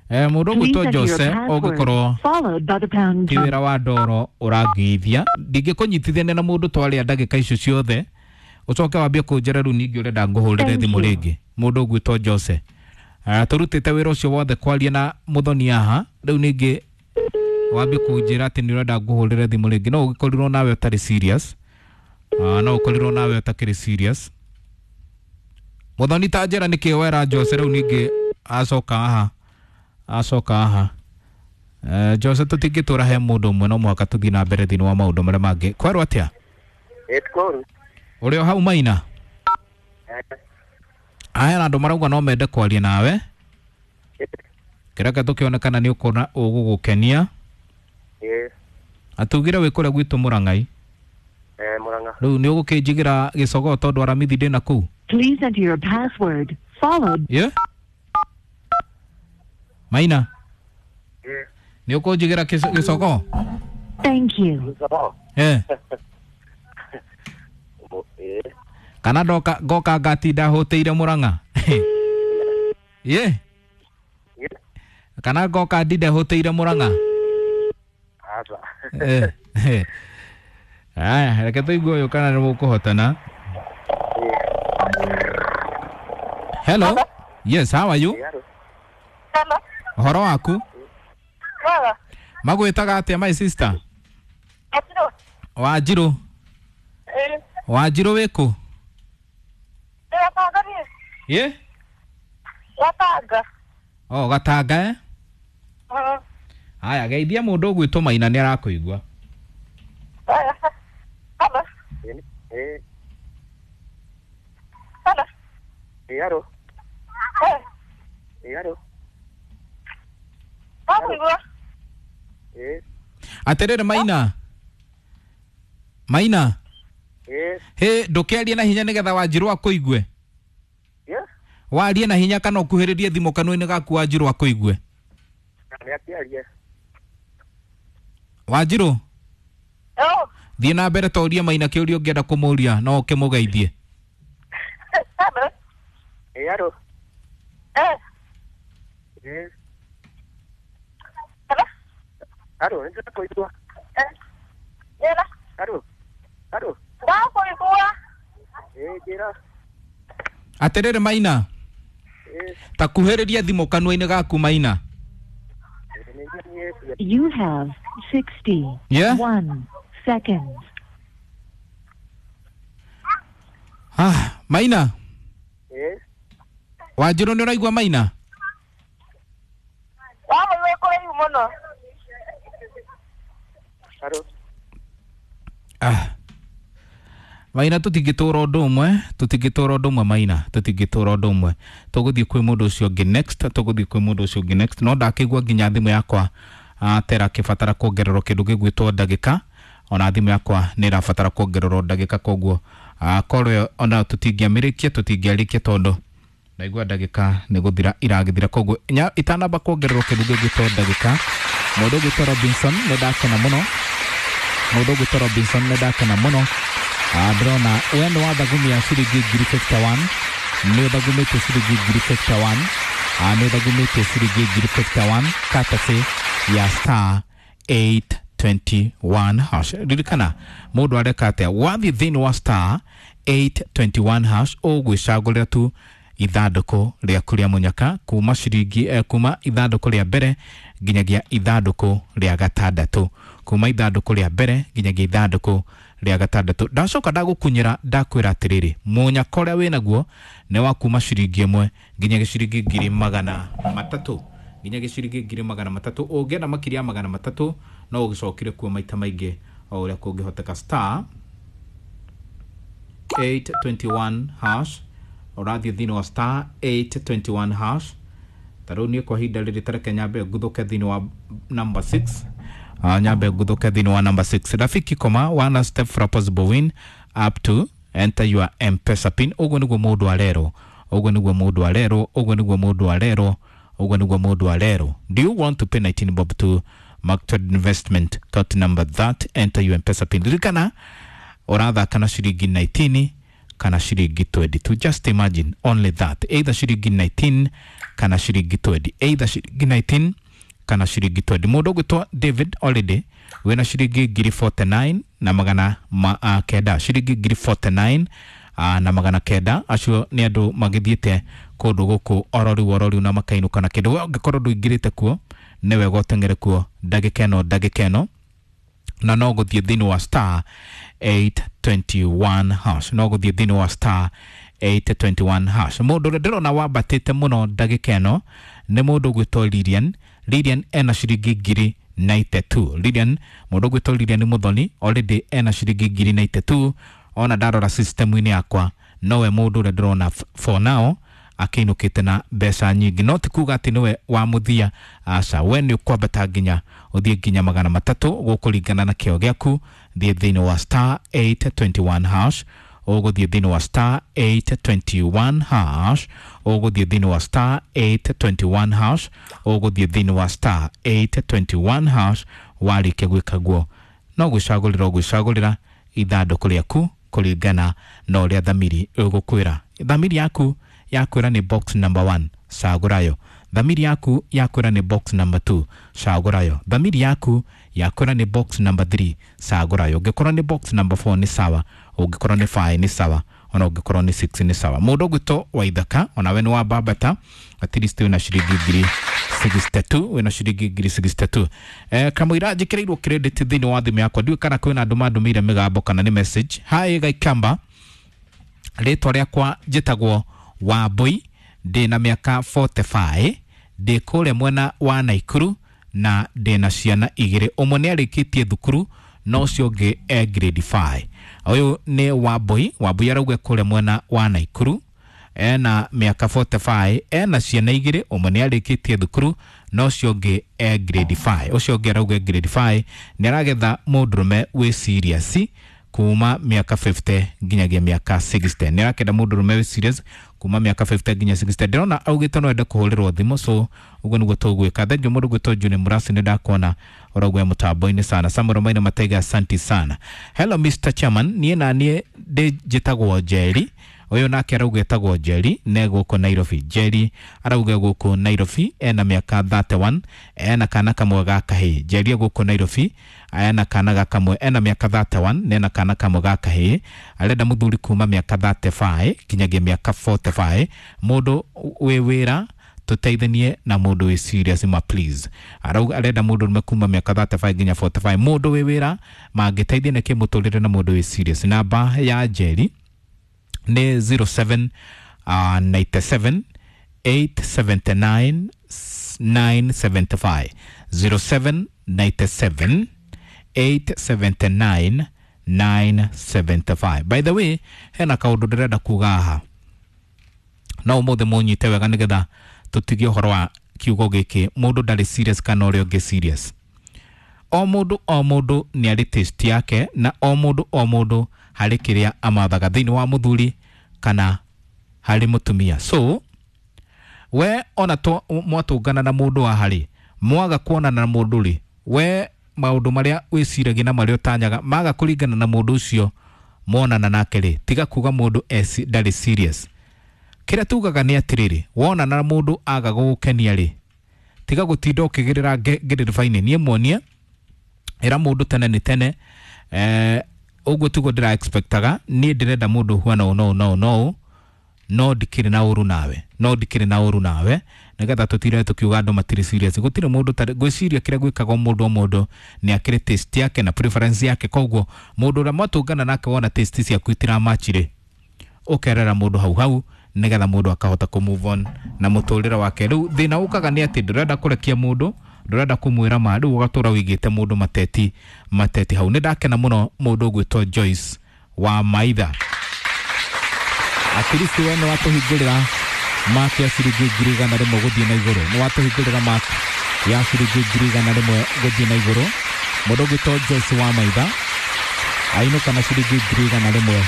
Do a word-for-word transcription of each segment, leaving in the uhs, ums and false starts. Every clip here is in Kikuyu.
Eh, mũndũ Please ũgwĩtwo enter your Jose password, ũngĩkorwo followed by the pound ti key. wĩra wa ndoro ũrangĩithia, ndingĩkũnyitithania na mũndũ twarĩa ndagĩka icio ciothe ũcoke wambie kũnjĩra rĩu ningĩ ũrenda ngũhũrĩre Thank thimũ you. rĩngĩ. Mũndũ ũgwĩtwo Jose, uh, tũrutĩte wĩra ũcio wothe kwaria na mũthoni haha, rĩu ningĩ wambie kũnjĩra atĩ nĩ ũrenda ngũhũrĩre thimũ rĩngĩ. No ũgĩkorirwo nawe ũtarĩ serious. uh, no ũkorirwo nawe ũtakĩrĩ serious. Mũthoni, ta njĩra nĩkĩ wera Jose rĩu ningĩ acoka haha, acoka haha. Uh, Jose, tũtingĩtũra he mũndũ ũmwe, no mũhaka tũthiĩ na mbere thĩinĩ wa maũndũ marĩa mangĩ. Kwerwo atĩa? Ĩtkoru. Ũrĩ o hau, Maina? Aya na andũ marauga no mende kwaria nawe. Kĩreka tũkĩonekana nĩ ũkuona ũgũgũkenia. Ĩ. Atugire wĩ kũrĩa gwitũ Mũrang'ai. Eh, Murang'a. Rĩu nĩ ũgũkĩnjigĩra gĩcogoo tondũ aramithi ndĩna kũu. Please enter your password, followed Ye Maina? Ĩ. Nĩ ũkũnjigĩra kĩco- gĩcogoo? Thank you. Gĩcogoo. Eh. Mo- Ĩ. Kana ndoka ngoka ngatinda hũtĩire Mũrang'a ye? Ĩ. Kana ngoka ndinde hũtĩire Mũrang'a? Aca. Eh, eh. Aya, reke tũigue ũyũ kana nĩ mũkũhotana. Hello, yes, how are you? Ĩ, aro. Hello. Ũhoro waku? Mwega. Magwĩtaga atĩa, my sister? Wanjirũ. Wanjirũ? Ĩĩ. Wanjirũ, wĩkũ? Ndĩ Gatanga niĩ. Ye? Gatanga. O Gatanga, eh? Mm. Haya, geithia mũndũ ũgwĩtwo Maina, nĩ arakũigua. Aya. Hello. Ĩ. Ĩ. Hello. Ĩ, aro. Eh. Ĩ, aro. Wakũigua? Ĩ. Atĩrĩrĩ Maina, Maina. Ĩ. Hĩ, ndũkĩarie na hinya nĩgetha Wanjirũ akũigue. Ĩ. Warie na hinya kana ũkuhĩrĩrie thimũ kanua-inĩ gaku, Wanjirũ akũigue. Nĩ akĩarie. Wanjirũ. Oh. Thiĩ na mbere, torie Maina kĩũria ũngĩenda kũmũria, no ũkĩmũgeithie. Hello. Ĩ, aro. Eh. Ĩ. Hello. Aro, nĩ ndĩrakũigua. Eh. Njĩra. Aro. Aro. Ndakũigua. Ĩ, njĩra. Atĩrĩrĩ Maina. Ĩ. Ta kuhĩrĩria thimũ kanua-inĩ gaku, Maina. Ĩ, nĩ nyinyĩtie. You have sixty-one Yeah? seconds. Ah, Maina. Ĩ. Wanjirũ, nĩ ũraigua Maina? Wamũigua kũraihu mũno. Aro. Ah. Maina, tũtingĩtũra ũndũ ũmwe, tũtingĩtũra ũndũ ũmwe, Maina, tũtingĩtũra ũndũ ũmwe. Tũgũthiĩ kwĩ mũndũ ũcio ũngĩ next, tũgũthiĩ kwĩ mũndũ ũcio ũngĩ next. No ndakĩigua nginya thimũ yakwa ah, tera kĩbatara kuongererwo kĩndũ gĩgwĩtwo ndagĩka, ona thimũ yakwa nĩ ĩrabatara kuongererwo ndagĩka, koguo ah, korwo ĩyo ona tũtingĩamĩrĩkia, tũtingĩarĩkia tondũ ndaigua ndagĩka nĩ gũthira iragĩthira, koguo nya- itanamba kuongererwo kĩndũ gĩgwĩtwo ndagĩka. Mũndũ ũgwĩtwo Robinson, nĩ ndakena mũno. Mũndũ ũgwĩtwo Robinson, nĩ ndakena mũno. Ah, ndĩrona we nĩ wathagumia ciringi ngiri mĩrongo ĩtano na ĩmwe, nĩ ũthagumĩtie ciringi ngiri mĩrongo ĩtano na ĩmwe. Ah, nĩ ũthagumĩtie ciringi ngiri mĩrongo ĩtano na ĩmwe courtesy ya star eight twenty-one hash. Ririkana mũndũ areka atĩa? Wathiĩ thĩinĩ wa star eight twenty-one hash, ũgwĩcagũrĩra tu ithandũkũ rĩaku rĩa mũnyaka kuma ciringi eh, kuma ithandũkũ rĩa mbere nginyagia ithandũkũ rĩa gatandatũ, kuma ithandũkũ rĩa mbere nginyagia ithandũkũ rĩa gatandatũ. Ndacoka ndagũkunyĩra, ndakwĩra atĩrĩrĩ, mũnyaka ũrĩa wĩnaguo nĩ wa kuma ciringi ĩmwe nginyagia ciringi ngiri magana matatũ, nginyagia ciringi ngiri magana matatũ. Ũngĩenda makĩria ya magana matatũ, no ũgĩcokire kuo maita maingĩ o ũrĩa kũngĩhoteka. Star eight twenty-one hash, ũrathiĩ thĩinĩ wa star eight twenty-one hash. Ta rĩu niĩ kwa ihinda rĩrĩ, tareke nyambe nguthũke thĩinĩ wa number six. uh, nyambe nguthũke thĩinĩ wa number six. Rafiki koma one step for a possible win up to enter your M-Pesa pin. Ũguo nĩguo mũndũ arerwo, ũguo nĩguo mũndũ arerwo, ũguo nĩguo mũndũ arerwo, ũguo nĩguo mũndũ arerwo. Do you want to pay nineteen bob to Mark Investment account number that? Enter your M-Pesa pin. Ririkana ũrathaka na ciringi nineteen kana ciringi twenty-two. Just imagine only that, either ciringi nineteen kana ciringi twenty, either ciringi nineteen kana ciringi twenty. Mũndũ ũgwĩtwo David already wĩna ciringi ngiri forty-nine na magana ma, uh, kenda, ciringi ngiri forty-nine uh, na magana kenda. Acio nĩ andũ magĩthiĩte kũndũ gũkũ ororiu ororiu na makainũka na kĩndũ. We ũngĩkorwo ndũingĩrĩte kuo nĩ wega ũteng'ere kuo ndagĩka ĩno ndagĩka ĩno, na no gũthiĩ thĩinĩ wa star eight twenty-one hash, no gũthiĩ thĩinĩ wa star eight twenty-one hash. Mũndũ ũrĩa ndĩrona wambatĩte mũno ndagĩka ĩno nĩ mũndũ ũgwĩtwo Lilian. Lilian ena ciringi ngiri ninety-two. Lilian, mũndũ ũgwĩtwo Lilian Muthoni already ena ciringi ngiri ninety-two. Ona ndarora system-inĩ yakwa nowe mũndũ ũrĩa ndĩrona for now akĩinũkĩte na mbeca nyingĩ, no ti kuga atĩ nĩwe wa mũthia, aca. We nĩ ũkwambata nginya ũthiĩ nginya magana matatũ gũkũringana na kĩo gĩaku. Thiĩ thĩinĩ wa star eight twenty-one hash, ũgũthiĩ thĩinĩ wa star eight twenty-one hash, ũgũthiĩ thĩinĩ wa star eight twenty-one hash, ũgũthiĩ thĩinĩ wa star eight twenty-one hash. Warĩkia gwĩka guo no gwĩcagũrĩra ũgwĩcagũrĩra ithandũkũ rĩaku kũringana na ũrĩa thamiri ĩgũkwĩra. Thamiri yaku yakwĩra nĩ box number one, cagũrayo. Thamiri yaku yakwĩra nĩ box number two, cagũrayo. Thamiri yaku yakwĩra nĩ box number three, cagũrayo. Ũngĩkorwo nĩ box number four nĩ sawa, ũngĩkorwo nĩ five nĩ sawa, ona ũngĩkorwo nĩ six nĩ sawa. Mũndũ ũgwĩtwo Waithaka onawe nĩ wambambata at least wĩna ciringi ngiri sixty-two, wĩna ciringi ngiri sixty-two. Eh, kamũira njĩkĩrĩirwo credit thĩinĩ wa thimũ yakwa, ndiũĩ kana kwĩna andũ mandũmĩire mĩgambo kana nĩ message. Hi Gaikamba, rĩtwa rĩakwa njĩtagwo Wambui, ndĩna mĩaka forty-five, ndĩ kũrĩa mwena wa Naikuru na ndĩna ciana igĩrĩ. Ũmwe nĩ arĩkĩtie thukuru na ũcio ũngĩ e grade five. Ũyũ nĩ Wambui. Wambui arauga kũrĩa mwena wa Naikuru, ena mĩaka forty-five, ena ciana igĩrĩ, ũmwe nĩ arĩkĩtie thukuru na ũcio ũngĩ e grade five. Ũcio ũngĩ arauga grade five, nĩ aragetha mũndũrũme wĩ serious kuma mĩaka fifty nginyagia mĩaka sixty. Nĩ arakenda mũndũrũme wĩ serious kuma mĩaka fifty nginya sixty. Ndĩrona augĩte no ende kũhũrĩrwo thimũ, so ũguo nĩguo tũgwĩka. Thengiũ mũndũ gwĩtwo Juni Murasi, nĩ ndakuona ũraugua mũtambo-inĩ sana. Samuel Maina Mataiga, asanti sana. Hello Mister Chairman, niĩ na niĩ ndĩ njĩtagwo Njeri. Ũyũ nake arauga etagwo Njeri, ne gũkũ Nairobi. Njeri arauga gũkũ Nairobi, ena mĩaka thirty-one, ena kana kamwe ga kahĩĩ. Njeri gũkũ Nairobi, ena kana ga kamwe, ena mĩaka thirty-one, nena kana kamwe ga kahĩĩ. Arenda mũthuri kuma mĩaka thirty-five nginyagia mĩaka forty-five, mũndũ wĩ wĩra tũteithanie na mũndũ wĩ serious ma please. Arauga arenda mũndũ ũrũme kuma mĩaka thirty-five nginya forty-five, mũndũ wĩ wĩra mangĩteithia nĩkĩ mũtũrĩre na mũndũ wĩ serious. Namba ya Njeri nĩ zero seven ninety-seven eight seventy-nine nine seventy-five, zero seven ninety-seven eight seventy-nine nine seventy-five. By the way, hena kaũndũ ndĩrenda kuga haha no ũmũthĩ mũnyite wega nĩgetha tũtigie ũhoro wa kiugo gĩkĩ mũndũ ndarĩ serious kana ũrĩa ũngĩ serious. O mũndũ o mũndũ nĩ arĩ taste yake, na o mũndũ o mũndũ harĩ kĩrĩa amathaga thĩinĩ wa mũthuri kana harĩ mũtumia. So we ona to mwatũngana na mũndũ wa harĩ mwaga kuonana na mũndũ rĩ, we maũndũ marĩa wĩciragia na marĩa ũtanyaga maga kũringana na mũndũ ũcio monana nake rĩ, tiga kuga mũndũ ndarĩ serious. Kĩrĩa tugaga nĩ atĩrĩrĩ, wonana na mũndũ aga gũgũkenia rĩ, tiga gũtinda ũkĩgĩrĩra ngĩrĩrĩba-inĩ. Niĩ muonie ĩra mũndũ tene nĩ tene, eh, ũguo tiguo ndĩra expectaga. Niĩ ndĩrenda mũndũ ũhuana ũũ na ũũ na ũũ na ũũ, no ndikĩrĩ na ũru nawe, no ndikĩrĩ na ũru nawe, nĩgetha tũtire tũkiuga andũ matirĩ serious. Gũtirĩ mũndũ tarĩ, ngwĩciria kĩrĩa gwĩkaga mũndũ o mũndũ nĩ akĩrĩ taste yake na preference yake. Koguo mũndũ ũrĩa mwatũngana nake wona taste ciaku itiramachirĩ, ũkerera mũndũ hau hau nĩgetha mũndũ akahota kũ move on na mũtũrĩre wake. Rĩu thĩna ũkaga nĩ atĩ ndũrenda kũrekia mũndũ, ndũrenda kũmwĩra ma, rĩu ũgatũra wĩigĩte mũndũ mateti mateti hau. Nĩ ndakena mũno mũndũ ũgwĩtwo Joyce wa Maitha. At least we nĩ watũhingũrĩra mark ya ciringi ngiri igana rĩmwe gũthiĩ na igũrũ, nĩ watũhingũrĩra mark ya ciringi ngiri igana rĩmwe gũthiĩ na igũrũ. Mũndũ ũgwĩtwo Joyce wa Maitha ainũka na ciringi ngiri igana rĩmwe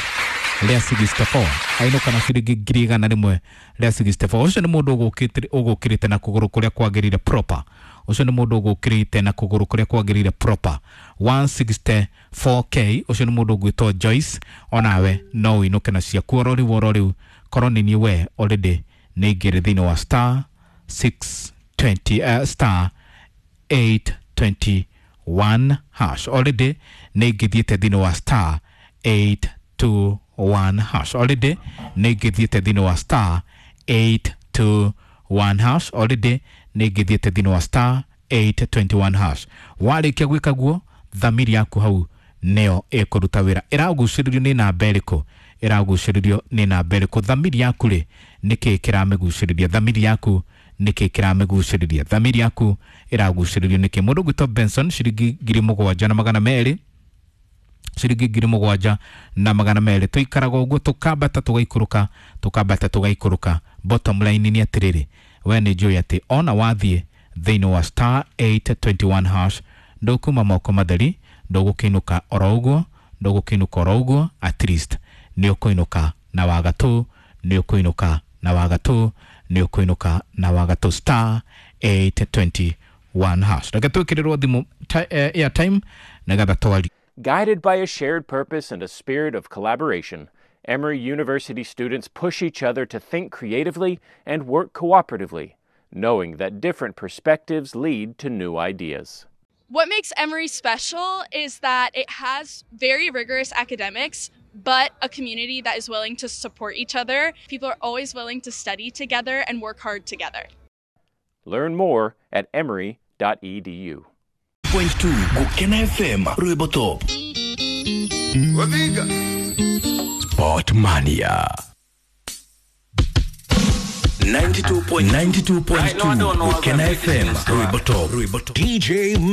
rĩa sixty-four, ainũka na ciringi ngiri igana rĩmwe rĩa sixty-four. Ũcio nĩ mũndũ ũgũkĩrĩte na kũgũrũ kũrĩa kwagĩrĩire proper. Ũcio nĩ mũndũ ũgũkĩrĩte na kũgũrũ kũrĩa kwagĩrĩire proper. one sixty-four K ũcio nĩ mũndũ ũgwĩtwo Joyce, onawe no ũinũke na ciaku oro rĩu oro rĩu. Korwo nĩ niĩ we already nĩ ingĩrĩ thĩinĩ wa star six twenty, uh, star eight twenty-one hash. Already nĩ ingĩthiĩte thĩinĩ wa star eight two one hash. Already nĩ ingĩthiĩte thĩinĩ wa star eight two one hash. Already nĩ ingĩthiĩte thĩinĩ wa star eight twenty-one hash. Warĩkia gwĩka guo, thamiri yaku hau nĩyo ĩkũruta wĩra. Ĩragucĩrĩrio nĩ namba ĩrĩkũ? Ĩragucĩrĩrio nĩ namba ĩrĩkũ? Thamiri yaku rĩ, nĩkĩ kĩramĩgucĩrĩria? Thamiri yaku nĩkĩ kĩramĩgucĩrĩria? Thamiri yaku ĩragucĩrĩrio nĩkĩ? Mũndũ ũgwĩtwo Benson ciringi ngiri mũgwanja na magana merĩ, ciringi ngiri mũgwanja na magana merĩ. Tũikaraga ũguo tũkambata tũgaikũrũka, tũkambata tũgaikũrũka. Bottom line nĩ atĩrĩrĩ, we nĩ njũĩ atĩ ona wathiĩ thĩinĩ wa star eight twenty-one hash ndũkuma moko matheri, ndũgũkĩinũka oro ũguo, ndũgũkĩinũka oro ũguo, at least nĩ ũkũinũka na wagatũ, nĩ ũkũinũka na wagatũ, nĩ ũkũinũka na wagatũ. Star eight twenty-one hash. Reke twĩkĩrĩrwo thimũ airtime nĩgetha twari. Guided by a shared purpose and a spirit of collaboration, Emory University students push each other to think creatively and work cooperatively, knowing that different perspectives lead to new ideas. What makes Emory special is that it has very rigorous academics, but a community that is willing to support each other. People are always willing to study together and work hard together. Learn more at emory dot e d u. Point two Gukena F M Rwimbo Top. Sport Mania. ninety-two point ninety-two point two Gukena F M Rwimbo Top. D J